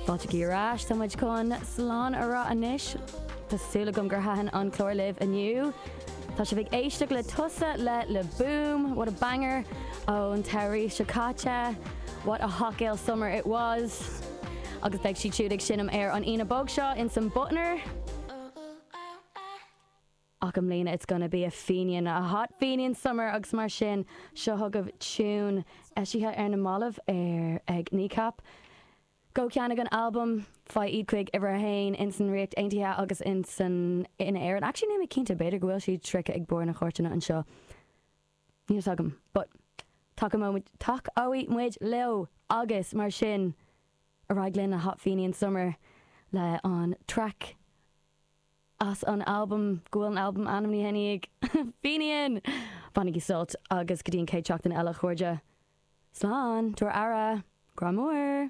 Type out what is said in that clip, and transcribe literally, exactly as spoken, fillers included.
Fáilte ar ais tá muid chun slán a rá anois Tá súil agam gur thaitin an clár libh inniu. Tá sibh ag éisteacht le Tusa le Le Boom, what a banger ón samhradh seo caite, what a hot girl summer it was. Agus beidh siad siúd ag seinm ar an Aoine bog seo in san Butner. Ach i mbliana it's gonna be a Fenian, a hot Fenian summer agus mar sin seo chugaibh tune eisithe ar na mallaibh ar ag Kneecap. Go ceannaigh an album faigh iad chuig uimhir a haon in san Ríocht Aontaithe agus in san in Éirinn. Actually níl mé cinnte b'fhéidir go bhfuil siad sroichte ag barr na cairteanna anseo. Níl agam, but tacóidh muid leo agus mar sin ar aghaidh linn a Hot Fenian Summer le an track as an album go bhfuil an album ainmnithe ag Fenian! Bainigí sult agus go dtí an chéad seachtain eile a chairde. Slán, tabhair aire, grá mór!